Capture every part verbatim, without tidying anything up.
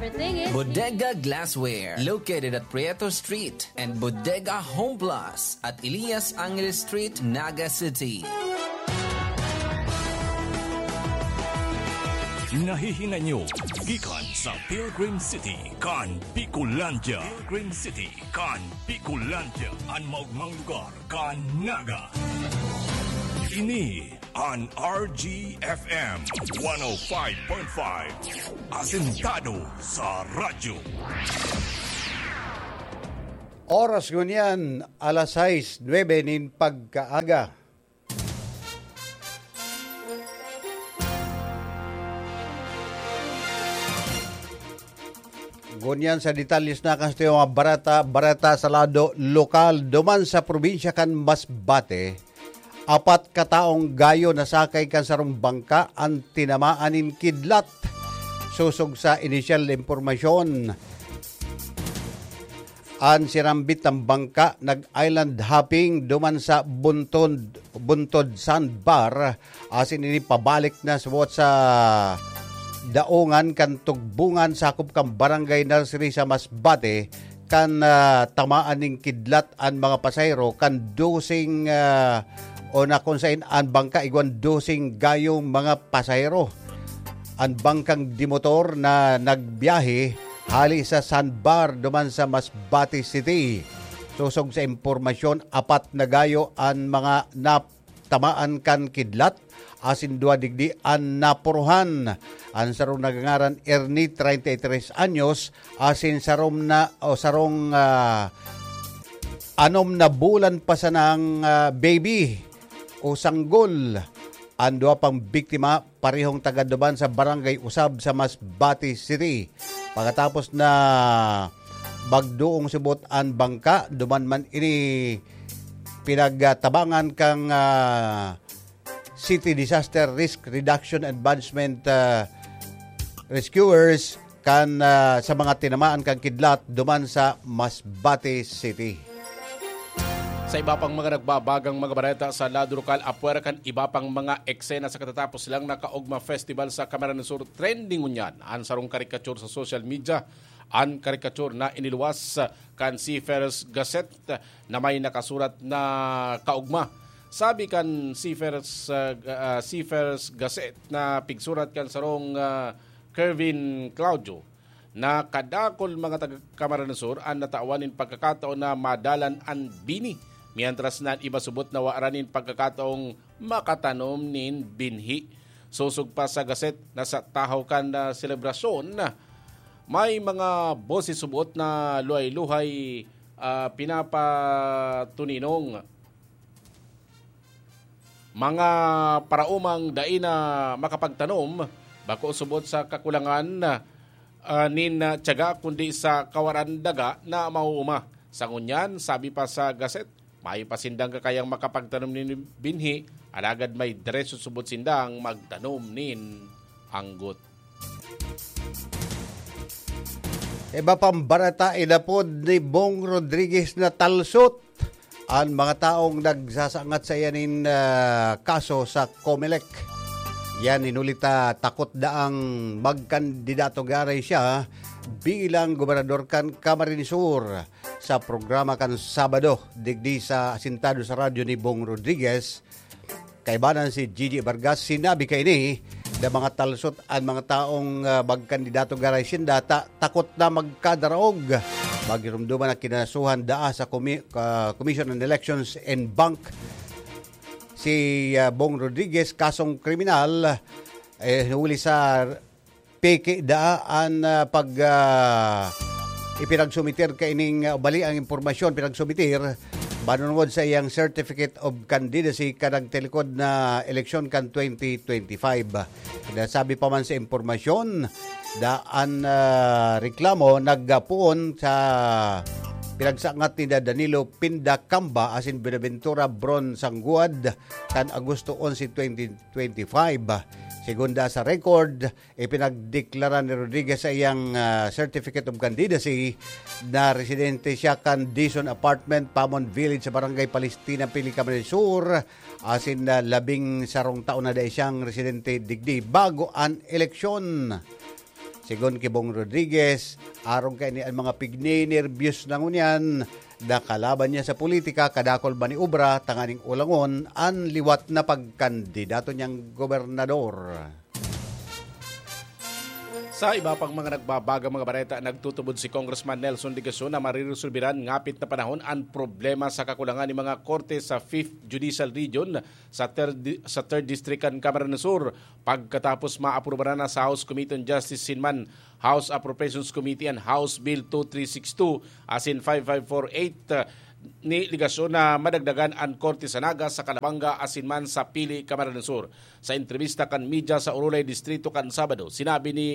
Bodega Glassware, located at Prieto Street, and Bodega Home Plus at Elias Angeles Street, Naga City. Nahihinay nyo gikan sa Pilgrim City kan Bicolandia. Pilgrim City kan Bicolandia, an maogmang lugar kan Naga. Ini an R G F M one oh five point five, asentado sa radyo. Oras ngunyan, alas sais nuebe nin pagkaaga. Ngunyan sa detalles na kan sa mga bareta, bareta sa lado lokal, duman sa probinsya kan Masbate, apat ka taong gayo nasakay kan sarong bangka an tinamaan nin kidlat. Sosog sa inisyal na impormasyon, an sinambit na bangka nag-island hopping duman sa Buntod, Buntod Sandbar, asin ini pabalik na subot sa daongan kan Tugbungan, sakop kan Barangay Nursery sa Masbate, kan, ah, tamaan nin kidlat an mga pasahero kan doseng, ah, o na kung sain an bangka igwan doseng gayong mga pasahero. An bangkang dimotor na nagbiyahe hali sa Sandbar duman sa Masbate City. Sosog sa impormasyon, apat na gayo an mga nap-, tamaan kan kidlat, asin duwa digdi an napuruhan. An sarong nagangaran Ernie, treinta y tres anyos, asin sarong na, o sarong, ah, anom na bulan pa sanang, ah, baby o sanggol. An duwa pang biktima, parehong taga duman sa Barangay Usab sa Masbate City. Pagkatapos na magdoong subot an bangka, duman man ini pinagtabangan kan, ah, City Disaster Risk Reduction Advancement, ah, Rescuers kan, ah, sa mga tinamaan kan kidlat duman sa Masbate City. Sa iba pang mga nagbabagang mga bareta sa lado lokal, apwera kan iba pang mga eksena, sa katatapos lang na Kaugma Festival sa Camarines Sur, trending ngunyan an sarong karikature sa social media. An karikature na iniluwas kan Seafarers Gazette na may nakasurat na kaugma. Sabi kan Seafarers, ah, ga-, ah, Seafarers Gazette na pigsurat kan sarong, ah, Kervin Claudio, na kadakul mga taga Camarines Sur an natawan nin pagkakataon na madalan an bini, mientras na an iba subot na wara nin pagkakataong makatanom nin binhi. Sosog pa sa gaset na sa tahaw kan, ah, selebrasyon, may mga boses subot na luhay-luhay, ah, pinapatuninong. Mga paraomang dai na makapagtanom, bako subot sa kakulangan, ah, nin, ah, tiyaga, kundi sa kawaran daga na mauuma. Sa ngunyan, sabi pa sa gaset, mayo pa sindang kakayang makapagtanom nin binhi, alagad may derecho subot sindang magtanom nin anggot. Iba pang bareta, inapod ni Bong Rodriguez na talsot an mga taong nagsasangat sa iya nin, ah, kaso sa Comelec. Yan, hinuli ta takot daang magkandidato giraray siya bilang gobernador kan Camarines Sur. Sa programa kan Sabado, digdi sa Asintado sa Radyo ni Bong Rodriguez, kaibanan si Gigi Vargas, sinabi kaini na mga talsot an mga taong, ah, magkandidato giraray sinda ta takot na magkadaraog. Magirumduman na kinasuhan daa sa Comi-, ah, Commission on Elections and Bank si, ah, Bong Rodriguez kasong kriminal, eh, huli sa peke daa an, ah, pag, ah, ipinagsumiter kaining, ah, bali ang impormasyon pinagsumiter manunod sa iyang Certificate of Candidacy kan nagtalikod na eleksyon kan twenty twenty-five. Sinasabi pa man sa impormasyon, daan, ah, reklamo nagpoon sa pinagsangat ni Danilo Pinda Camba asin Buenaventura Bron Sangguad kan Agosto onse, twenty twenty-five. Segunda sa record, ipinagdeklara ni Rodriguez sa iyang, ah, Certificate of Candidacy na residente siya kan Dizon Apartment, Pamon Village, sa Barangay Palestina, Pili, Camarines Sur, asin na labing sarong taon na dai siyang residente digdi bago an eleksyon. Sigon ki Bong Rodriguez, arog kaini an mga pigninerbiyos na ngunyan na kalaban niya sa politika, kadakul maniobra tanganing ulangon an liwat na pagkandidato niyang gobernador. Sa iba pang mga nagbabagang mga bareta, nagtutubod si Congressman Nelson Legacion na mariresolbiran ngapit na panahon an problema sa kakulangan ni mga korte sa Fifth Judicial Region sa Third, sa Third District kan Camarines Sur, pagkatapos maaprubaran na sa House Committee on Justice, sinman House Appropriations Committee, an House Bill two three six two asin five five four eight ni Legacion na madagdagan an korte sa Naga, sa Calabanga asin man sa Pili, Camarines Sur. Sa entrebista kan media sa Orolay Distrito kan Sabado, sinabi ni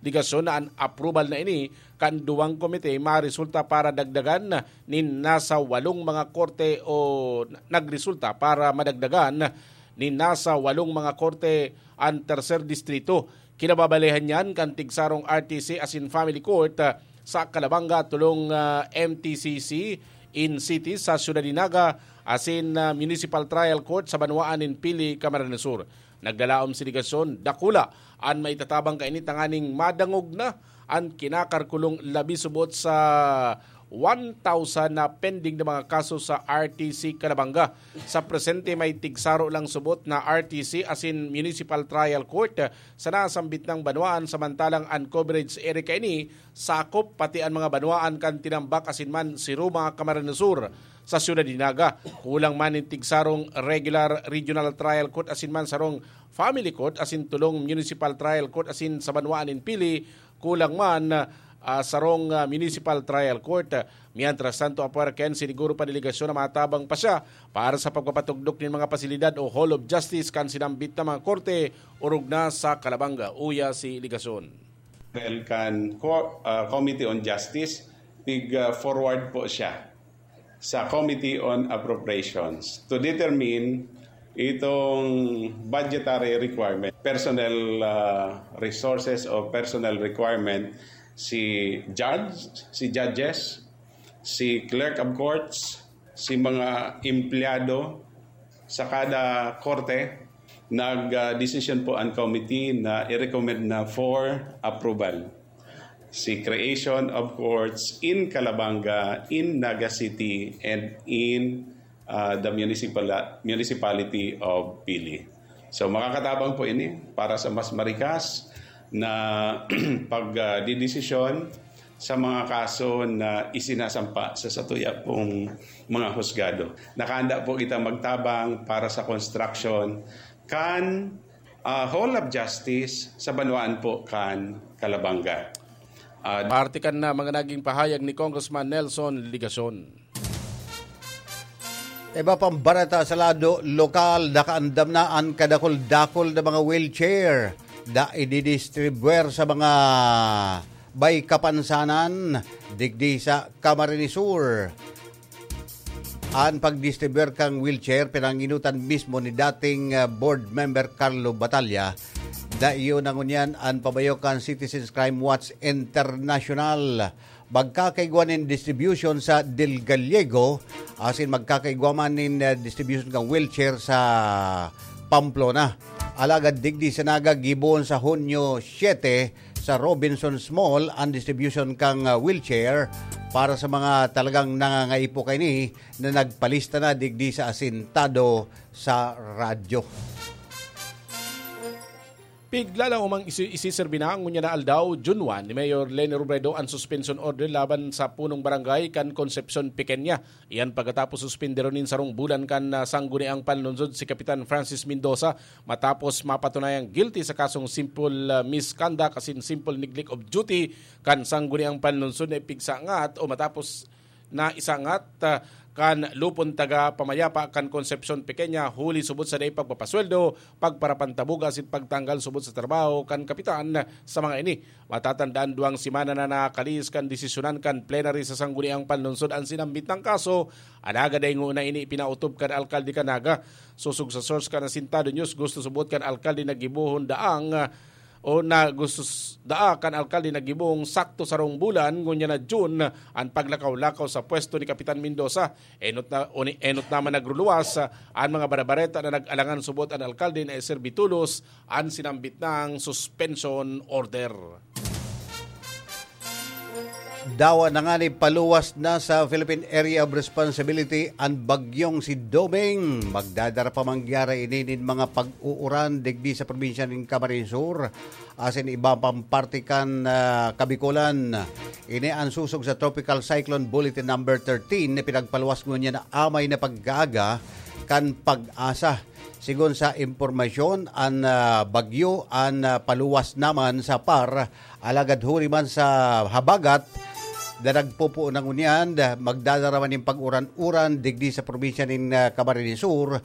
Legacion na an approval na ini kan duwang komite maresulta para dagdagan nin nasa walong mga korte o nagresulta para madagdagan nin nasa walong mga korte an Tercer Distrito. Kinababalehan niyan kan tigsarong R T C asin Family Court, ah, sa Calabanga, tolong, ah, M T C C in City sa Siyudad nin Naga, asin, ah, Municipal Trial Court sa banwaan nin Pili, Camarines Sur. Naglalaom si Legacion, dakula an maitatabang kaini tanganing madangog na an kinakalkulong labi subot sa one thousand na pending na mga kaso sa R T C Calabanga. Sa presente, may tigsaro lang subot na R T C asin Municipal Trial Court sa nasambit nang banwaan, samantalang an coverage area kaini sakop pati an mga banwaan kan Tinambac asin man Siruma, Camarines Sur. Sa Siyudad nin Naga, kulang man nin tigsarong regular regional trial court asin man sarong family court asin tolong municipal trial court asin sa banwaan nin Pili, kulang man, ah, sarong, ah, municipal trial court. Mientras tanto, apwera kaini, siniguro pa ni Legacion na matabang pa siya para sa pagpapatugdok nin mga pasilidad o Hall of Justice kan sinambit na mga korte orog na sa Calabanga. Uya si Legacion. Well, kan co-, ah, Committee on Justice, tig, ah, forward po siya sa Committee on Appropriations to determine itong budgetary requirement, personnel, ah, resources o personnel requirement, si judge, si judges, si clerk of courts, si mga empleyado sa kada korte. Nag, ah, desisyon po ang committee na i-recommend na for approval si creation of courts in Calabanga, in Naga City, and in, ah, the municipal-, municipality of Pili. So, makakatabang po ini para sa mas marikas na pag, ah, didesisyon sa mga kaso na isinasampa sa satuya pong mga husgado. Nakahanda po kita magtabang para sa construction kan, ah, Hall of Justice sa banwaan po kan Calabanga. Ah, Parte kan na mga naging pahayag ni Congressman Nelson Legacion. Iba pang bareta sa lado lokal, nakaandam na an kadakul-dakul na mga wheelchair na ididistribuer sa mga may kapansanan digdi sa Camarines Sur. An pagdistribuer kan wheelchair, pinanginutan mismo ni dating, ah, board member Carlo Batalla. Dayon na ngunyan an pabayo kan Citizens Crime Watch International. Magkakaigwa nin distribution sa Del Gallego, asin magkakaigwa man nin, ah, distribution kan wheelchair sa Pamplona. Alagad digdi sa Naga, gibohon sa Hunyo siete sa Robinsons Mall an distribution kan, ah, wheelchair para sa mga talagang nangangaipo kaini na nagpalista na digdi sa asintado sa radyo. Piglalang umang isi-, isiserbi na ngunyan na aldaw, June one, ni Mayor Leni Robredo an suspension order laban sa punong barangay kan Concepcion Pequeña. Iyan pagkatapos suspinderon nin sarong bulan kan, ah, Sangguniang Panlungsod si Kapitan Francis Mendoza matapos mapatunayang guilty sa kasong simple, ah, misconduct asin simple neglect of duty kan Sangguniang Panlungsod na ipigsangat o matapos na isangat, ah, kan lupon taga pamayapa kan Concepcion Pequeña, huli subot sa dai pagpapasweldo, pagparapantabog asin pagtanggal subot sa trabaho kan kapitan sa mga ini. Matatandaan, duwang semana na nakalihis kan desisyonan kan plenary sa Sangguniang Panlungsod an sinambit na kaso, alagad dai ngona ini ipinaotob kan alkalde kan Naga. Sosog sa source kan Asintado News, gusto subot kan alkalde na gibohon daang, ah, o na gusto s-, daa kan alkalde na gibong sakto sarong bulan, ngunyan na June, an paglakaw-lakaw sa pwesto ni Kapitan Mendoza. Enot na, o ni-, enot naman nagruluwas, ah, an mga barabareta na nag-alangan subot an alkalde na iserbi tolos an sinambit nang suspension order. Dawa na ngani paluwas na sa Philippine Area of Responsibility an bagyong si Doming. Magdadara pa man giraray ini nin mga pag-uuran digdi sa probinsya nin Camarines Sur, asin iba pang parte kan, ah, Kabikolan. Ini an sosog sa Tropical Cyclone Bulletin Number thirteen na pinagpaluwas ngunyan na amay na pag-aaga kan PAGASA. Sigon sa impormasyon, an, ah, bagyo an, ah, paluwas naman sa par, alagad huli man sa habagat na nagpupuon na ngunyan, magdadara man nin pag-uran-uran digdi sa probinsya nin, ah, Camarines Sur,